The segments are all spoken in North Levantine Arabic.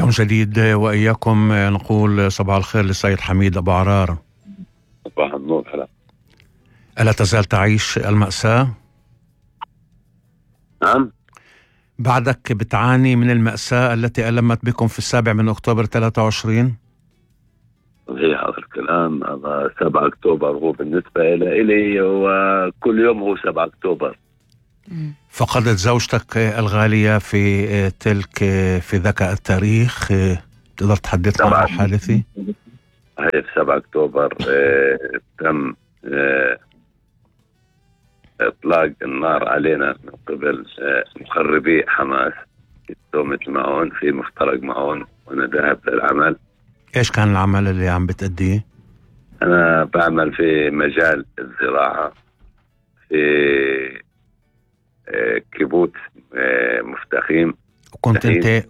يوم جديد وإياكم نقول صباح الخير للسيد حميد أبو عرار. صباح النور. هلا. ألا تزال تعيش المأساة؟ نعم. بعدك بتعاني من المأساة التي ألمت بكم في 7 أكتوبر 23؟ صحيح هذا الكلام. هذا 7 أكتوبر هو بالنسبة إلي وكل يوم هو 7 أكتوبر. فقدت زوجتك الغالية في ذاك التاريخ، تقدر تحدثنا عن الحادثة؟ هي في 7 أكتوبر تم إطلاق النار علينا من قبل مخربي حماس في تهمة المعون، في مفترق معون، وأنا ذاهب للعمل. إيش كان العمل اللي عم بتأديه؟ أنا بعمل في مجال الزراعة في كيبوتس مفتخيم.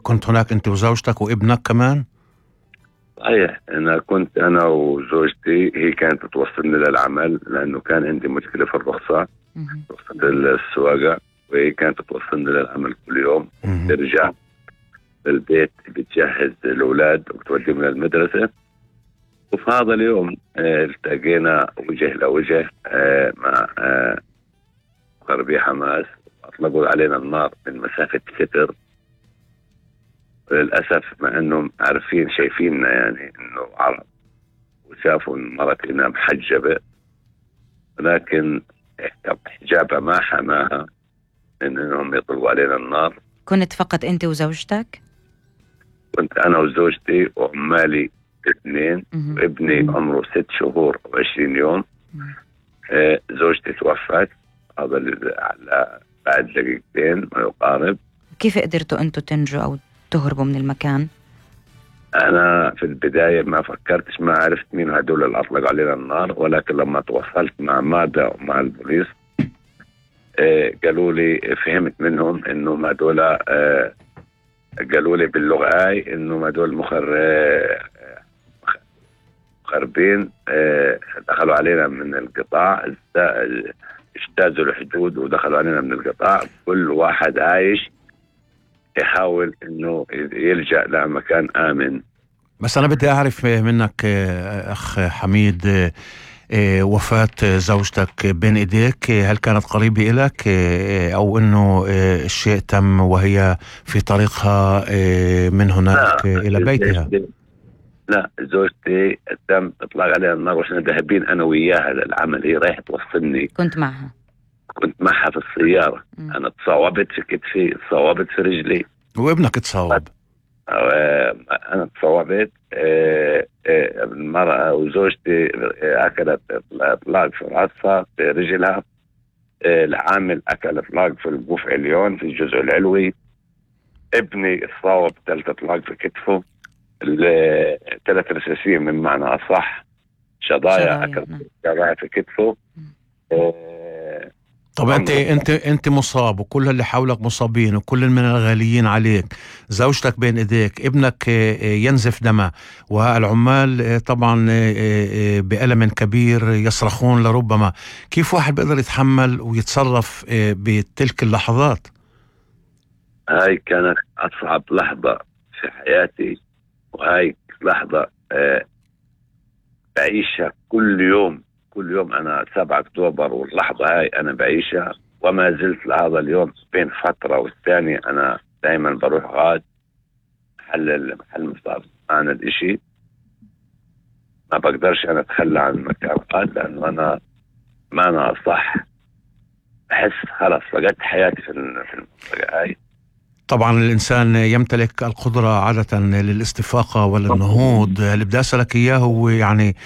كنت هناك أنت وزوجتك وابنك كمان؟ صحيح. أنا وزوجتي، هي كانت توصلني للعمل لأنه كان عندي مشكلة في رخصة السواقة، وهي كانت توصلني للعمل كل يوم. ترجع بالبيت بتجهز الأولاد وبتوديهم للمدرسة. وفي هذا اليوم التقينا وجه لوجه مع مخربي حماس، أطلقوا علينا النار من مسافة ستر. للأسف مع أنهم عارفين شايفيننا يعني أنه عرب وشافوا مرتنا محجبة، ولكن حجابها ما حماها من أنهم يطلقوا علينا النار. كنت فقط أنت وزوجتك؟ كنت أنا وزوجتي وعمالي 2 وابني عمره 6 شهور و20 يوم. زوجتي توفت هذا بعد دقيقتين ما يقارب. كيف قدرتوا أنتوا تنجوا أو تهربوا من المكان؟ أنا في البداية ما فكرتش، ما عرفت مين هدول اللي أطلق علينا النار، ولكن لما تواصلت مع مادا ومع البوليس قالوا لي، فهمت منهم إنه ما دول قالوا لي باللغة هاي إنه ما دول مخربين دخلوا علينا من القطاع، اجتازوا الحدود ودخلوا علينا من القطاع. كل واحد عايش يحاول انه يلجأ لمكان آمن. بس انا بدي اعرف منك اخ حميد، وفاة زوجتك بين ايديك، هل كانت قريبة لك او انه الشيء تم وهي في طريقها من هناك الى بيتها؟ لا، زوجتي تم اطلاق عليها النار واحنا ذاهبين انا وياها للعمل. هي رايحة توصلني. كنت معها في السيارة. أنا تصاوبت في كتفي، تصاوبت في رجلي. وابنك تصاوب؟ أنا تصاوبت. المرأة وزوجتي أكلت إطلاق في رأسها في رجلها. العامل أكل إطلاق في البوف عليون في الجزء العلوي. ابني تصاوب 3 إطلاق في كتفه، 3 رصاصين من معنى أصح. شظايا أكل شظايا في كتفه. طب انت مصاب وكل اللي حولك مصابين وكل من الغاليين عليك، زوجتك بين ايديك، ابنك ينزف دمه، والعمال طبعا بألم كبير يصرخون لربما. كيف واحد بيقدر يتحمل ويتصرف بتلك اللحظات؟ هاي كانت أصعب لحظة في حياتي، وهاي لحظة بعيشها كل يوم. أنا 7 أكتوبر واللحظة هاي أنا بعيشها، وما زلت لهذا اليوم بين فترة والثانية أنا دايما بروح غاد محل مصاب عن الإشي. ما بقدرش أنا أتخلى عن مكان غاد، لأنه أنا ما أنا صح أحس خلاص فقدت حياتي في المنطقة هاي. طبعا الإنسان يمتلك القدرة عادة للاستفاقة وللنهوض. اللي بدي أسألك إياه هو يعني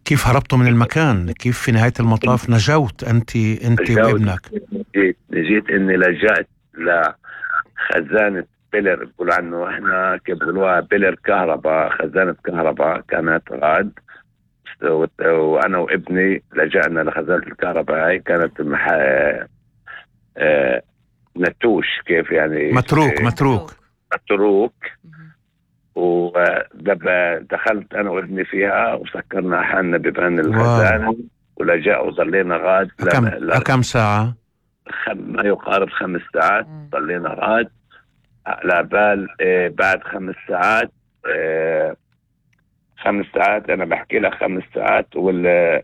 كيف هربتوا من المكان؟ كيف في نهاية المطاف نجوت أنت وابنك؟ نجيت إني لجأت لخزانة بيلر، بقول عنه إحنا كيف بقولوها بيلر كهرباء، خزانة كهرباء كانت غاد. وأنا وابني لجأنا لخزانة الكهرباء هاي. كانت نتوش، كيف يعني متروك. ودخلت أنا وابني فيها وسكرنا حالنا ببان الخزانة ولجأ وظلينا غاد. كم ساعة؟ ما يقارب 5 ساعات ظلينا غاد. على بال بعد 5 ساعات. 5 ساعات أنا بحكي لك 5 ساعات،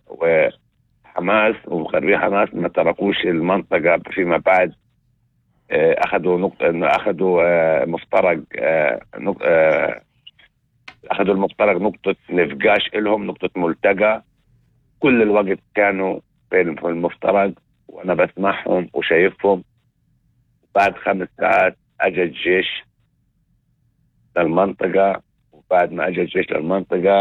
وحماس ومقربي حماس ما تركوش المنطقة فيما بعد. أخذوا مفترق، أخذوا المفترق نقطة نفقاش إلهم، نقطة ملتقى. كل الوقت كانوا في المفترق وأنا بسمعهم وشايفهم. بعد 5 ساعات أجى الجيش للمنطقة، وبعد ما أجى الجيش للمنطقة